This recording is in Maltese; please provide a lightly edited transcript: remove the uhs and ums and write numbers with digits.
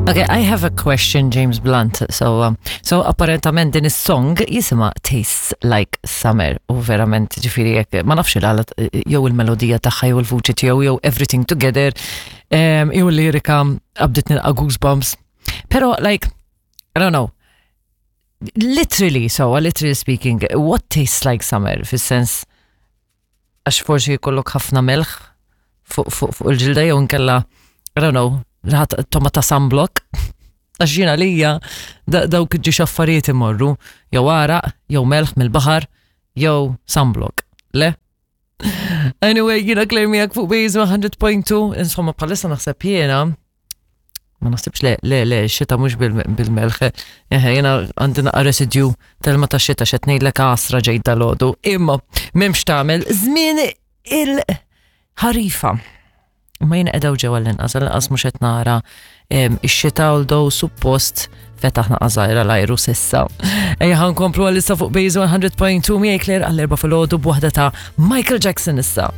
Okay, I have a question, James Blunt. So, um, so apparentament din is-song jisimha Tastes Like Summer u verament ġifieri jekk ma nafx il-għala jew il-melodija tagħha jew il-vuċi tiegħu jew everything together um, jew il-lirika qabdit nilqa' goosebumps. Pero like, I don't know, literally, so literally speaking, what tastes like summer fis-sens għax forsi jkollok ħafna melħ fuq fu, fu il-ġilda jew inkella, I don't know, ħadd toma ta' sunblock. Għax jiena lija dawk ġiex affarijiet imorru, jew għaraq, jew melħ mill-baħar, jew sunblock. Le? Anyway, jiena Claire miegħek fuq Base 100.2, insomma bħalissa naħseb jiena Ma naħsibx le, le, le, xita mhux bil-melħ. Eħe, jiena għandi naqra residju telma ta' xita xed ngħidlek għasra ġejt dalodu. Imma m'hemmx tagħmel żmien il-ħarifa. Imma jiena qedaw ġewwa l-inqas, l-inqas mhux qed nara ix-xita although suppost fetaħ naqa' żgħira l-ajru sissa. Ejja ħankomplu għalissa fuq Base 100.2 miegħi Claire għall-erba' filgħodu b'waħda ta' Michael Jackson issa.